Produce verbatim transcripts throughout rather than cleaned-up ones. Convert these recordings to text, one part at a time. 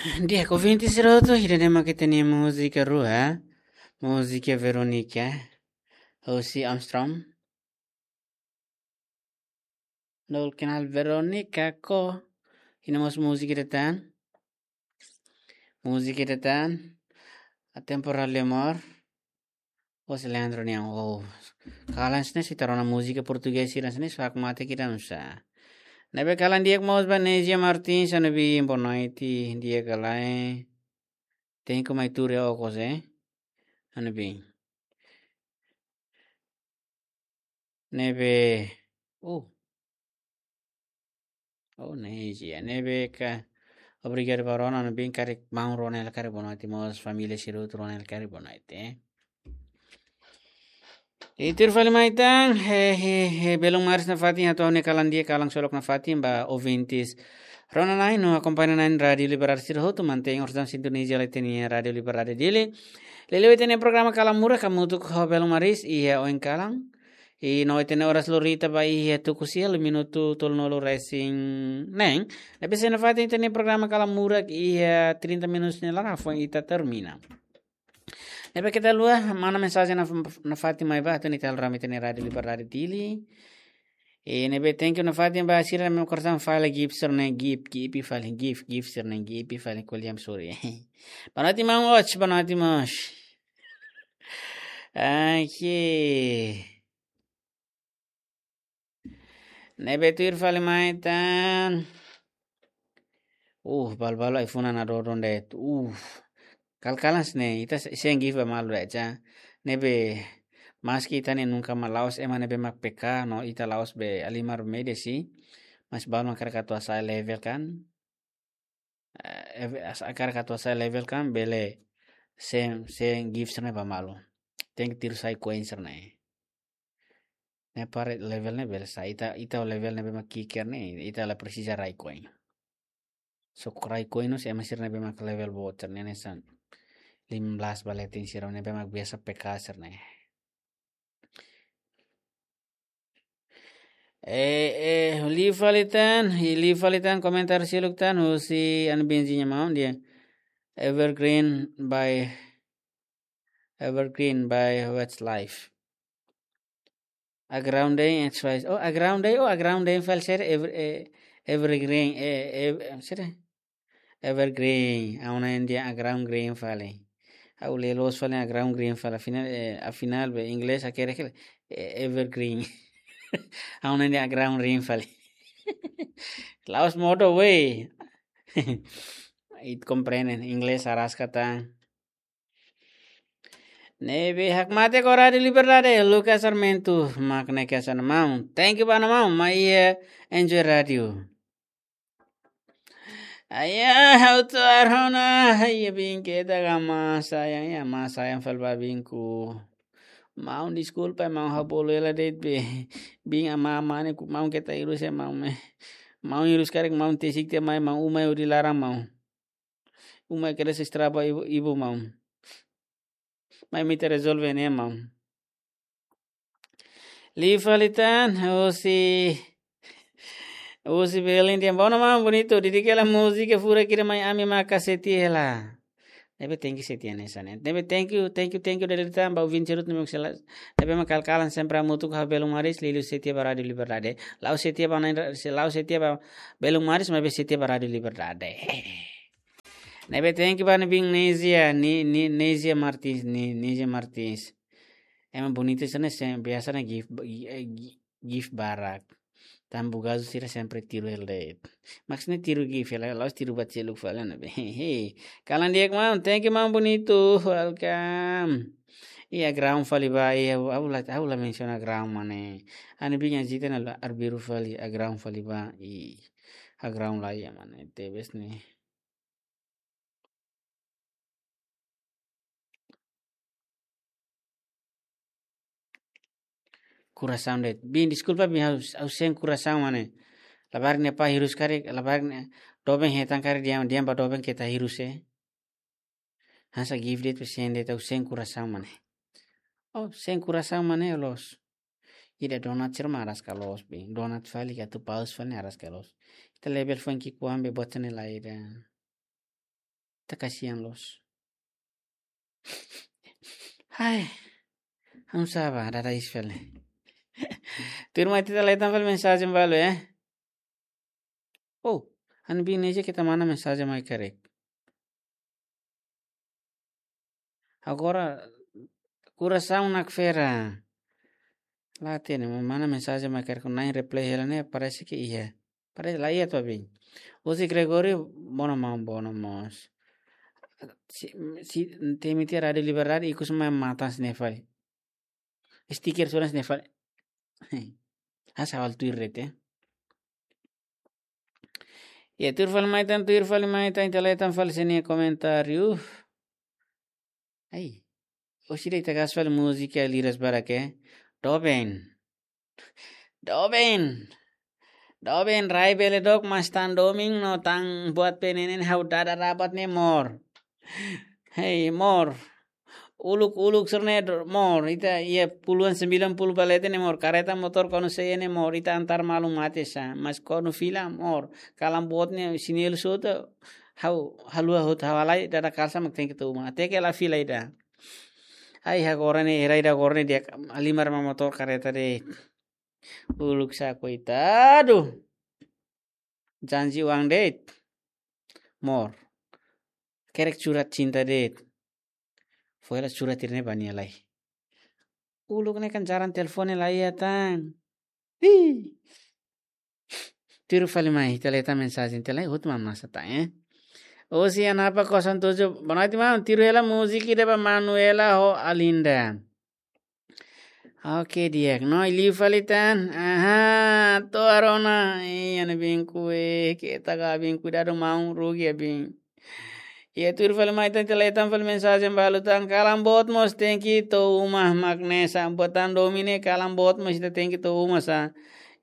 Di'ak, ouvinte sira hotu, ida-ne'e mak ita-nia múzika rua, múzika Veronica, husi Armstrong. Nol kenal Veronica ko. Ida mós múzika ida tan. Múzika ida tan. A Temporal de Amor. Husi Leandro nian. Oh. Kalan sne si tarona múzika portugés sira sne, só hakmatek ida nusa. Ne'ebé kalan di'ak mós ba Neizia Martins, ha'u-nia biin, boa noite, di'ak ka lae. Tenke mai tuur iha okos, eh. Ha'u-nia biin. Ne'ebé, uh. Oh, Neizia, ne'ebé ka. Obrigadu ba Ronald, ha'u-nia biin karik, maun Ronald karik, boa noite mós, família sira hotu, Ronald karik, boa noite, eh. I tuir fali mai tan, he, he, he, belun maris nafatin, hato'o ha'u-nia kalan di'ak, kalan ksolok nafatin ba ouvintes rona-na'in no akompaña na'in Rádiu Liberdade sira hotu, mantein orsida sintonizadu iha ita-nia Rádiu Liberdade Dili. Liuliu ita-nia programa Kalan Murak hamutuk ho belun maris iha oin kalan. I no ita-nia oras lori ita ba iha tuku sia liu minutu tolunulu-resin-neen. Ne'ebé sei nafatin ita-nia programa Kalan Murak iha trinta minutos nia laran foin ita termina. Ne'ebé keta haluha, mana mensajen naf-, nafatin mai ba, atu ni tal rame ita-nia Rádiu Liberdade Dili. I ne'ebé thank you nafatin ba sira-ne'ebé mak korisan fali gift sira-ne'e, gift, gift fali, gift, gift sira-ne'e, gift fali, ko'alia hanesan ne'e. Boa noite, maun Osh, boa noite, maun Osh. Oke. Ne'ebé tuir fali mai tan. Uh, balu-balu ai-funan nadodon de'it. Uh, kal-kalan sne, ita se-, sein gift ba malu de'it, ja. Ne'ebé, maski ita ne'e nunka mak la'ós ema ne'ebé mak peka, no ita la'ós be halimar média sih. Mas balu mak hakarak atu hasa'e level kan. Eh, eve-, as-, hakarak atu hasa'e level kan, bele sein, sein gift sira-ne'e ba malu. Tenke tiru sai koin sira-ne'e. Ne'e para level ne'e bele sai, ita, ita level ne'ebé mak ki'ik ne'e, ita la presiza rai koin. Só rai koin no se ema sira ne'ebé mak level boot sira-ne'e hanesan lima belas ba leten sira ne'ebé mak biasa peka sira-ne'e. Eh, eh, liu fali tan, i liu fali tan komentar seluk tan, husi ha'u-nia biin nia maun dehan. Evergreen by, Evergreen by Westlife. Aground Day, X Y Z. Oh, Aground Day, oh, Aground Day fali sira, ever-, eh, Evergreen, eh, eh, sira. Evergreen, ha'u hanoin dehan Aground Green fali. Ha'u lee loos fali Aground Green fali, afinál, eh, afinál be inglés hakerek, eh, Evergreen. Ha'u hanoin dehan Aground Green fali. La'ós modo we. Ita komprende, inglés araska tan. Ne'ebé hakmatek ho Rádiu Liberdade, Lucas Sarmento, mak ne'e ke sana maun. Thank you ba maun, mai iha enjoy rádiu. Aya, ha'u atu arona, aya biin keta ka masa, aya, aya masa, aya fali ba biinku. Maun deskulpa, maun ha'u bolu hela de'it be. Biin ama mane ku maun keta hirus iha maun mai. Maun hirus karik maun tesik tiha mai, maun uma hodi laran maun. Uma kedas estraga ibu, ibu maun. Mai ita rezolve ne'e maun. Liu fali tan, husi, husi Belém dehan, bom maun, bonito, dedika hela múzika furak ida mai ami maka setia hela. Ne'ebé thank you setia hanesan ne'e. Ne'ebé thank you, thank you, thank you dali tan, ba ouvinte sira hotu ne'ebé mak sela-, ne'ebé mak kal-kalan sempre hamutuk ho belun maris, liuliu setia ba Rádiu Liberdade. La'ós setia ba na'in ra-, se-, la'ós setia ba belun maris, maibé setia ba Rádiu Liberdade. Ne'ebé thank you ba ha'u-nia biin Neizia, Ni-, Ni-, Neizia Martins, Ni-, Neizia Martins. Ema bonita sira-ne'e, biasa ne'e gift, eh, gi-, gift barak. Tan bugazu sira sempre tiru hela de'it. Maksudnya tiru gift hela, la'ós tiru ba seluk fali ne'ebé. Hehe. Kalan di'ak maun, thank you maun, bonito, welcome. Iha Aground fali ba, iha, ha'u la, ha'u la mensiona Aground mane. Ha'u-nia biin Azita ne'e la arbiru fali, Aground fali ba, i Aground la iha mane, tebes ne'e. Kurasaun de'it. Biin, deskulpa, biin, ha'u, ha'u sein kurasaun mane. Labarik ne'e apá hirus karik, labarik ne'e doben hetan karik dehan, dehan ba doben keta hirus, eh. Hanesan gift de'it, sein de'it, ha'u sein kurasaun mane. Oh, sein kurasaun mane loos. Ida donat sira mak araska loos, biin. Donat fali ka atu paus fali ne'e araska loos. Ita level foin ki'ikoan be buat ne'e la ida. Ita kasihan loos. Hai. Ha'u saba, dada isfel. Tuirmai ita leten fali mensajen balu, eh. Oh, ha'u-nia biin Neija keta mana mensajen mai karik. Agora, kurasaun nakfera. La hatene, mana mensajen mai karik, na'in reply hela ne'e, parese ke iha. Parese la iha to'o biin. Husi Gregorio, bono maun, bono mós. Si, si, temi tiha Rádiu Liberdade, ikus mai matan sine fali. Stiker sura sine fali. Asa hal tuir rete. Ya, tuir fali mai tan, tuir fali mai tan, ita leten fali sira-nia komentáriu. Ai. Oxi, ita gas fali múzika liras barak, eh. Doben. Doben. Doben, rai bele dook, mas tan domin no tan buat penenen ha'u dada rabat ne'e mor. Hei, mor. Uluk, uluk sira-ne'e dor-, mor. Ita iha puluhan sembilan puluh ba leten ne'e mor. Kareta motór kuandu sei iha ne'e mor. Ita antar malu mate sá. Mas kuandu fila mor. Kalan boot ne'e sinelu sota. Ha'u, haluha hotu ha'u halai dada kalsa mak tenke to'o uma. Até ke la fila ida. Ai, agora ne'e, era ida agora ne'e di'ak halimar mak motór kareta de'it. Uluk sá, koitadu. Janji uang de'it. Mor. Hakerek surat cinta de'it. Fó hela surat sira-ne'e ba nia lai. Uluk ne'e kan jaran telefone la iha tan. Ih. Tuir fali mai, ita leten mensajen, ita leten hotu mamasa tan, eh. Ocean apa kosong tujuh, boa noite, maun. Tuir hela múzika ida ba Manuela ho Alinda. Oke, di'ak. No, liu fali tan. Aha, to'o arona. Ih, ha'u-nia biin kue, keta ka biin, kuidadu maun, rugi ya biin. Ya, tuir fali mai tan, ita leten fali mensajen balu tan. Kalan boot mós tenke to'o uma mak ne'e sá. Buat tan domin ne'e kalan boot mós ita tenke to'o uma sá.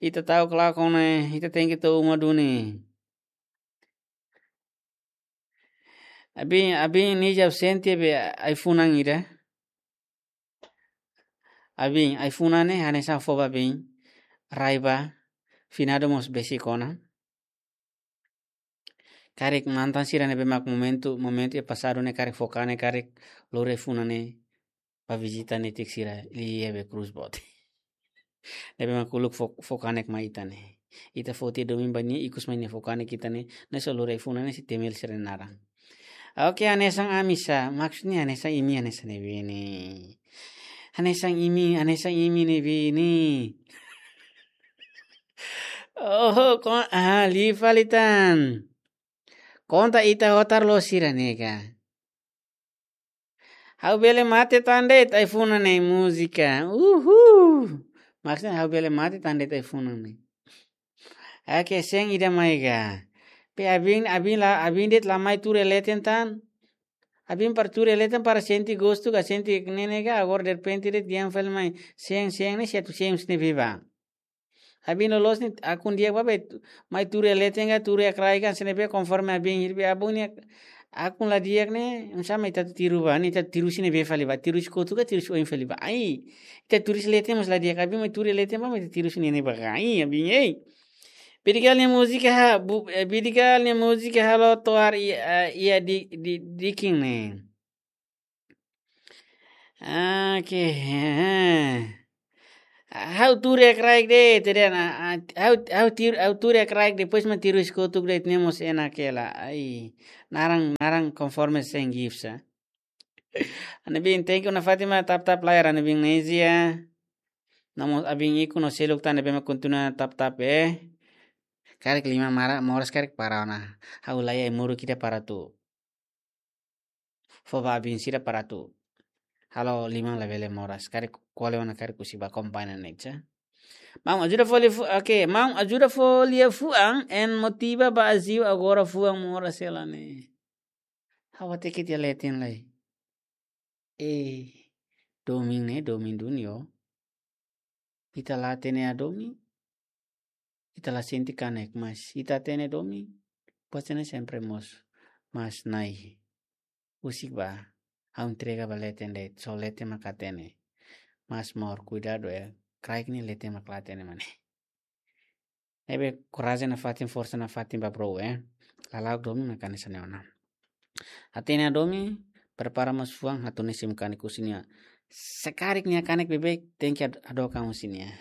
Ita ta'uk lakon ne'e, ita tenke to'o uma duni. Abin, abin Neija sente be ai-funan ida. Abin, ai-funan ne'e hanesan fó ba biin, rai ba, finadu mós besik ona. Karik mantan sira ne'ebé mak momentu, momentu iha pasadu ne'e karik fó kanek, karik lori ai-funan ne'e ba vizita netik sira, liu be krús boot. Ne'ebé mak uluk fó, fó kanek mai ita ne'e. Ita fó tiha domin ba nia, ikus mai nia fó kanek ita ne'e, ne'e só lori ai-funan ne'e sei temi hela sira-nia naran. Oke, hanesan ami sá, maksudnya hanesan imi, hanesan ne'ebé ne'e. Hanesan imi, hanesan imi ne'ebé ne'e. Oh, kon-, ah, liu fali tan. Konta ita hotar loos sira-ne'e ka. Ha'u bele mate tan de'it ai-funan ne'e múzika. Uhu. Maksudnya ha'u bele mate tan de'it ai-funan ne'e. Oke, sein ida mai ka. Pe abin, abin la, abin de'it la mai tuur iha leten tan. Abin para tuur iha leten para sente gostu ka, sente ne'e ne'e ka, agora derrepente de'it dehan fali mai. Sein, sein ne'e satu sein sine viva. Abin loloos ne'e akun di'ak ba be, mai tuur iha leten ka, tuur iha kraik ka, sine be konforme abin hirbe abun ne'e, akun la di'ak ne'e, oinsá mak ita tiru ba, ne'e ita tiru sine be fali ba, tiru husi kotuk ka, tiru husi oin fali ba. Ai, ita tuur husi leten mós la di'ak, abin mai tuur iha leten ba, mai ita tiru husi ne'e ne'e ba, ai, abin, ei. Bidigal nia múzika ha, bu-, eh, Bidigal nia múzika halo toar i-, eh, iha di, di, diking ne'e. Oke, eh. Ha'u tuur iha kraik de'it, te den, ah, ah, ha'u, ha'u tiru, ha'u tuur iha kraik de'it, depois mak tiru husi kotuk de'it, ne'e mós enak hela. Ai, naran, naran konforme sein gifts, ah. Ha'u-nia biin, thank you nafatin mak tap tap layar, ha'u-nia biin Neija. Nomós abin ikus no seluk tan ne'ebé mak kontinua tap tap, eh. Karik liman mara, moras karik para ona. Ha'u laiha ai-moruk ida para atu fó ba abin sira para atu halo liman labele moras. Karik kole ona karik husik ba akompaña ne'e sá. Maun ajuda fó lia fu-, oke, maun ajuda fó lia fuan, en motiva ba aziu agora fuan moras hela ne'e. Ha'u hateke tiha leten lai. Eh, domin ne'e, domin duni ó. Ita la hatene hadomi, ita la sente kanek, mas ita hatene domin, buat sira-ne'e sempre moos, mas Na'i, husik ba, ha'u entrega ba leten de'it, só leten mak hatene. Mas amor, kuidadu, eh, kraik ne'e leten mak la hatene mak ne'e. Ne'ebé korajen nafatin, forsa nafatin ba bro, eh. Lala'ok domin mak hanesan ne'e ona. Hatene hadomi, prepara mós fuan, hatudu ne'e simu kanek husi nia. Se karik nia kanek beibeik, tenke ad-, hadook an husi nia.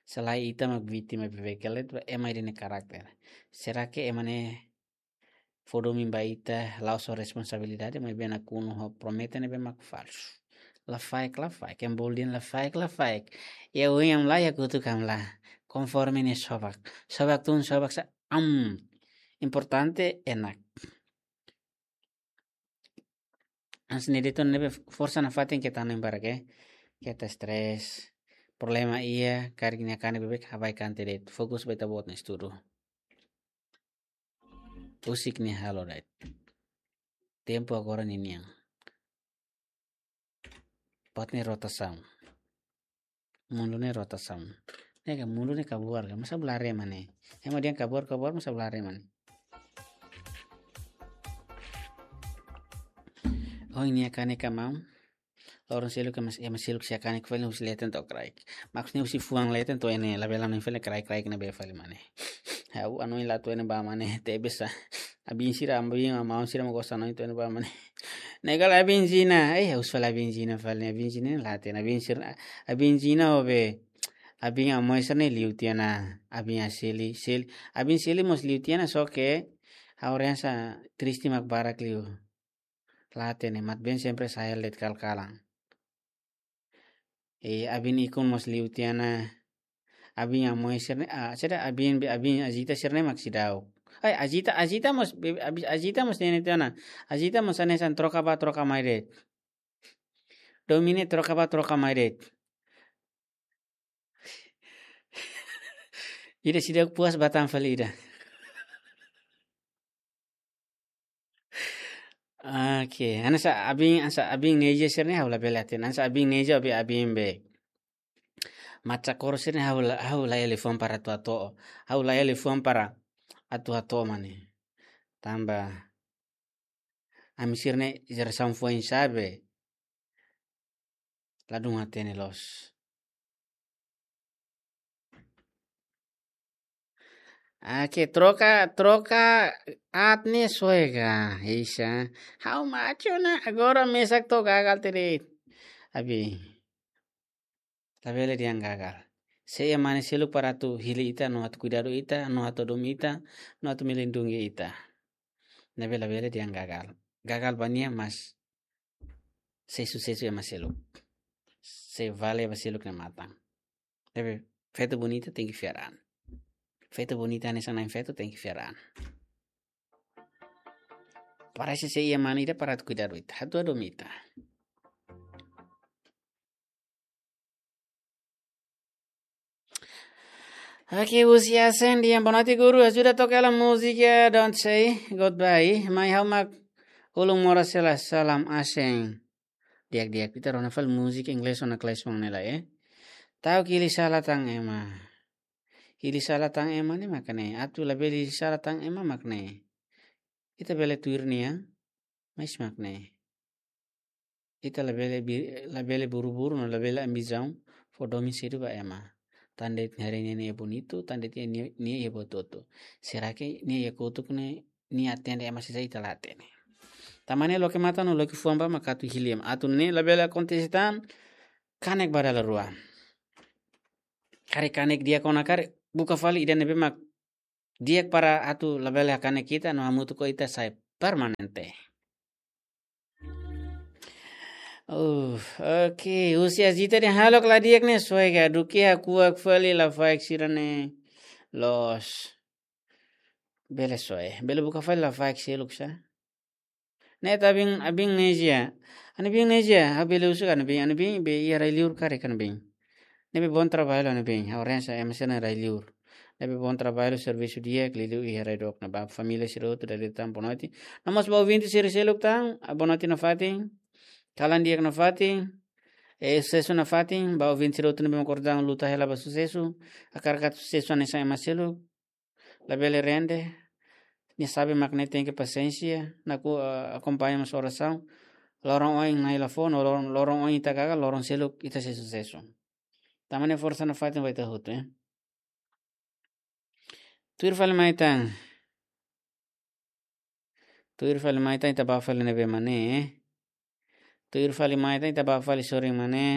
Selae ita mak vítima beibeik hela de'it, ema ida-ne'e karakter. Será que ema ne'e fó domin ba ita, la'ós ho responsabilidade, maibé nakonu ho promete ne'ebé mak falsu. Lafaek, lafaek, ema bolu dehan lafaek, lafaek. Iha oin hamlaha, iha kotuk hamlaha. Konforme nia sobak. Sobak tun, sobak sa'e, am. Importante enak. Hanesan ne'e de'it ona, ne'ebé forsa nafatin keta hanoin barak, eh. Keta stres. Problema iha, karik nia kanek beibeik, ha'u bá kante de'it. Fokus ba ita-boot nia estudu. Husik nia halo de'it. Tempu agora ninian. Buat ne'e rotasaun. Mundu ne'e rotasaun. Ne'e ka mundu ne'e kabuar ka, masa bele haree ema ne'e. Ema dehan kabuar, kabuar, masa bele haree ema ne'e. Oh, nia kanek ka maun. Loron seluk ka mas, ema seluk sei kanek fali husi leten to'o kraik. Maksudnya husi fuan leten to'o iha ne'e, labele hanoin fali kraik-kraik ne'ebé fali ema ne'e. Ha'u hanoin la to'o iha ne'ebá ema ne'e, tebes sa. Abin sira, abin maun sira mak gosta hanoin to'o iha ne'ebá ema ne'e. Ne'e kala abin Zina, eh, ha'u husu fali abin Zina fali, abin Zina la hatene, abin sira, abin Zina ho be, abin Amoy sira ne'e liu tiha ona, abin Aseli, Seli, abin Seli mós liu tiha ona, só ke ha'u haree hanesan triste mak barak liu. La hatene, maibé sempre sai hela de'it kalan-kalan. Eh, abin Ikun mós liu tiha ona, abin Amoy sira ne'e, ah, sira abin, abin Azita sira ne'e mak seidauk. Ai, Azita, Azita mós, be-, abi-, Azita mós ne'e tiha ona. Azita mós hanesan troka bá, troka mai de'it. Domin ne'e troka bá, troka mai de'it. Ida seidauk puas bá tan fali ida. Oke, hanesan abin, hanesan abin Neja sira ne'e ha'u labele hatene. Hanesan abin Neja, abin, abin be. Macha Koro sira ne'e ha'u la, ha'u la iha liafuan para atu hato'o. Ha'u la iha liafuan para atu hato'o ema ne'e. Tanba ami sira ne'e jerasaun foin-sa'e be. Ladún hatene loos. Oke, troka, troka aat ne'e soe ka, Isa. Ha'u macho na, agora mesak to'o gagal tiha de'it. Abi. Labele dehan gagal. Sei iha mane seluk para atu hili ita, no atu kuidadu ita, no atu hadomi ita, no atu melindungi ita. Ne'ebé labele dehan gagal. Gagal ba nia, mas sei susesu ema seluk. Sei vale ba seluk nia matan. Ne'ebé feto bonita tenke fiar an. Feto bonita hanesan na'in-feto tenke fiar an. Parese sei iha mane ida para atu kuidadu ita, atu hadomi ita. Oke, husi Asen dehan, "Boa noite, guru. Ajuda toka hela múzika Don't Say Goodbye. Mai ha'u mak ulun moras hela, salam Asen." Di'ak, di'ak. Ita rona fali múzika inglés ona kles mak ne'e la, eh. Ta'uk hili sala tan ema. Hili sala tan ema ne'e mak ne'e. Atu labele hili sala tan ema mak ne'e. Ita bele tuir nia, mais mak ne'e. Ita labele bi-, labele buru-buru no labele ambisaun fó domin sedu ba ema. Tan de'it nia haree nia, nia bonitu, tan de'it nia, nia iha buat hotu. Será que nia iha kotuk ne'e, nia atende ema sira, ita la atende. Tanba ne'e loke matan no loke fuan ba mak atu hili ema. Atu ne'e labele akontese tan, kanek ba dala rua. Karik kanek di'ak ona karik, buka fali ida ne'ebé mak di'ak para atu labele hakanek ita no hamutuk ho ita sai permanente. Uh, oke, husi Azita dehan, "Halo, kala di'ak ne'e soe ka, duké hakuak fali lafaek sira ne'e loos." Bele soe, bele buka fali lafaek seluk sá. Ne'e ita abin, abin Neja. Ana bin Neja, ha'u bele husu ka ana bin, ana bin be iha rai-liur karik ana bin. Ne'ebé bom trabalho ana bin, ha'u haree hanesan ema sira ne'e rai-liur. Ne'ebé bom trabalho, servisu di'ak, liuliu iha rai dook ne'ebá, família sira hotu dala ida tan boa noite. No mós ba ouvinte sira seluk tan, ah, boa noite nafatin. Kalan di'ak nafatin. Eh, susesu nafatin, ba ouvinte sira hotu ne'ebé mak kordang luta hela ba susesu. Hakarak atu susesu hanesan ema seluk. Labele rende. Nia sabe mak ne'e tenke pasiénsia, nakonu, ah, akompaña mós orasaun. Loron oin Na'i la fó, no loron, loron oin ita gagal, loron seluk ita sei susesu. Tanba ne'e forsa nafatin ba ita hotu, eh. Tuir fali mai tan. Tuir fali mai tan ita ba fali ne'ebé mak ne'e. Tuir fali mai tan ita ba fali sorin mak ne'e.